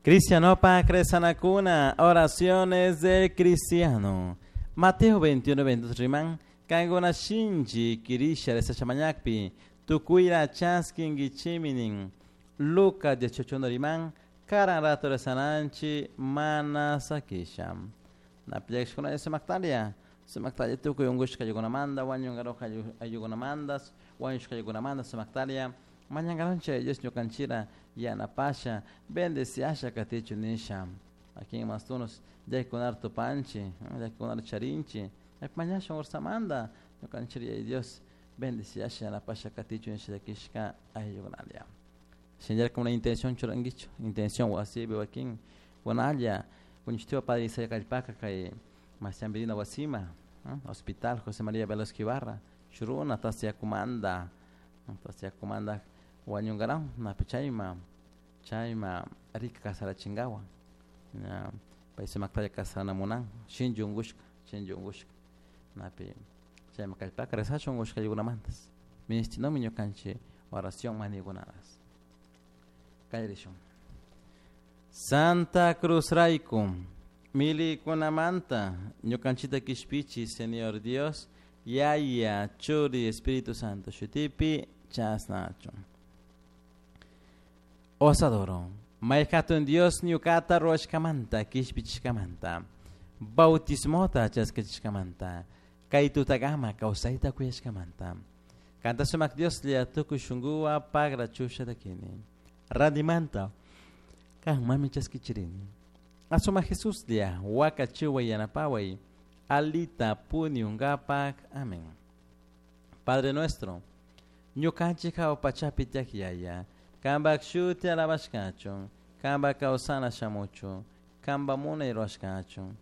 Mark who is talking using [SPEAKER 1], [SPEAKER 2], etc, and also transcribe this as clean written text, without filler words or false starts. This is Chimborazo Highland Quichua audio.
[SPEAKER 1] Cristianopa rezanakuna, oraciones del cristiano. Mateo 21, 22 riman, kankuna shinchi kirisha rezashamañakpi, tukuira chaskinkichiminin. Lucas 18 riman, karan rato rezananchi mana sakisha. Napillakishkuna sumaktalia, sumaktalia tukuy unkushka ayukunamanta, wañunkaruj ayukunamanta, wañushka ayukunamanta sumaktalia, mañankaronchik Dios ñukanchira yanapasha, bendeciasha katichu nisha. Aquí en Mastunos, llakikunar tupanchi, llakikunar charinchi, mañashun ursamanta, ñukanchira Dios bendeciasha yanapasha katichu nisha llakishka ayllukunalia. Shinallar una intención churankichu, intención wasipi wakin kunalla, kuñishtiwa Padre Isaiah Kallpaka kay Masiambirina wasima, Hospital José María Velasco Ibarra, shuruna tasyakumanta, tasyakumanta wañunkaran, napi chayma, chayma rika kasarachinkawan, ña pay sumaktalla kasarana munan, shinchi unkushka, shinchi unkushka, napi chayma kallpaka rezashun unkushka ayllikunamantas, ministinomi ñukanchik oración manikunatas. Kallarishun. Santa Cruz rayku, milikunamanta, ñukanchita kishpichi, Señor Dios, Yaya, Churi, Espíritu Santo, shutipi, chasnachu. Os adoro. Mayhatun Dios ñukata ruwashkamanta, kishpichishkamanta, bautismota chaskachishkamanta, kay tutakama kawsayta kuyashkamanta. Kanta sumak Dios lla tukuy shunkuwa pagra chusha takini. Randimanta, kan mami chaskichirini. Asuma Jesus lla wakachiway yanapaway, alita puniungapak. Amén. Padre nuestro, ñukanchik hawa pachapi tiyak Yaya, kanpak shuti alabashkachun, kanpak kawsana shamuchun, kanpak munay rurashkachun.